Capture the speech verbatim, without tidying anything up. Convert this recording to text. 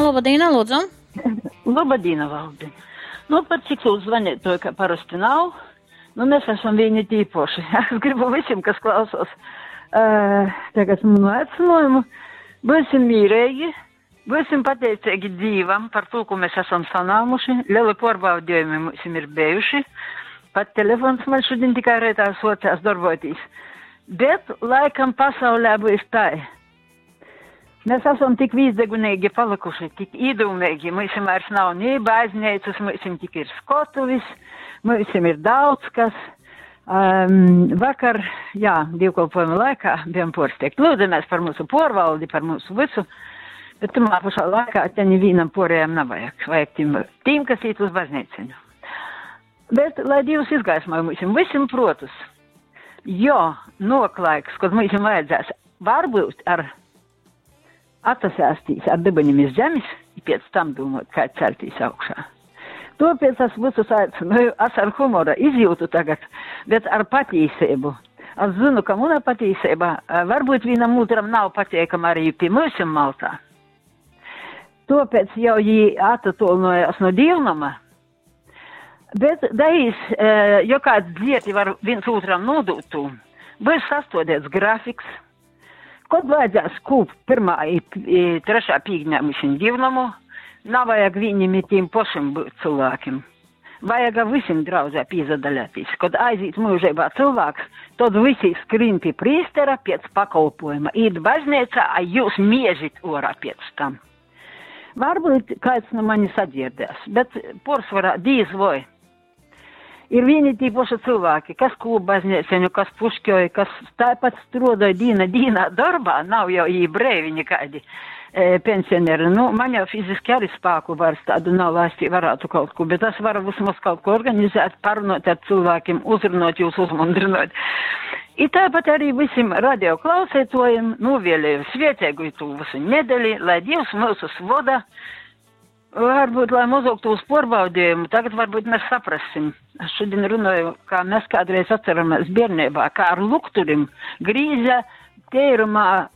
Labadīna, lūdzu. Labadīna, Valdi. Nu, par cik tūs zvanītoju, ka parasti nav, nu, mēs esam vieni tīpoši. Es gribu visiem, kas klausos, uh, tagad manu aicinājumu, būsim mīrīgi, būsim pateicīgi Dīvam par to, ko mēs esam sanāmuši. Lieli pārbaudījumi mums ir bijuši. Pat telefons man šodien tikai reitā socās darboties. Bet laikam pasaulē būs tā. Mēs esam tik vīzdegunīgi palikuši, tik īdumīgi. Mums vairs nav ni baznīcas, mums tik ir skotuvis, mums ir daudz kas. Um, vakar, jā, dievkalpojuma laikā bijām porsteigti. Lūdzamies par mūsu porvaldi, par mūsu visu, bet tamā pašā laikā te nevienam porējam nav vajag. Vajag tiem, tiem, kas iet uz baznīciņu. Bet, lai Dievs izgaismoja mums visiem protus, jo noklaiks, kad mums vajadzēs, varbūt ar atsasēstīs ar debeņiem iz zemes, i pēc tam domāt, kā celtīs augšā. Tāpēc es visus aicinu, es ar humora izjūtu tagad, bet ar patīsību. Es zinu, ka mana patīsība eh, varbūt vienam otram nav patīkama arī pie mums Maltā. Tāpēc jau viņi attolinājās no dievnama. Bet daīs, eh, jo kāds dzieti var viens otram nodot to, būs sastādīts grafiks, kad vajadzēs kūpt pirmā i, i trešā pīkņā mums dievnamu, nav vajag viņiem i tiem pašiem būt cilvēkiem. Vajag visiem draudzē pīzadaļāties. Kad aiziet mūžībā cilvēks, tad visi skrien pie priestera pēc pakalpojuma. Īt baznīcā, a jūs miežit orā pēc tam. Varbūt kāds no manis sadzirdēs, bet porcelāna dīz vai. Ir vieni tie paši cilvēki, kas kūp baznīceņu, kas pušķoja, kas tāpat strādāja dīna dīnā darbā, nav jau jī brēvi nekādi e, pensionēri. Nu, man jau fiziski arī spēku vairs tādu nav, lai es varētu kaut ko, bet es varu vismaz kaut ko organizēt, parunāt ar cilvēkiem, uzrunāt jūs, uzmundrināt. I tāpat arī visiem radio klausētojiem novēlēju svētīgu tū visu nedēļu, lai Dievs mūsus voda. Varbūt, lai mazāk tos pārbaudījumu, tagad varbūt mēs saprasim. Es šodien runāju, kā mēs kādreiz atceramies bērnībā, kā ar lukturim grīza tērumā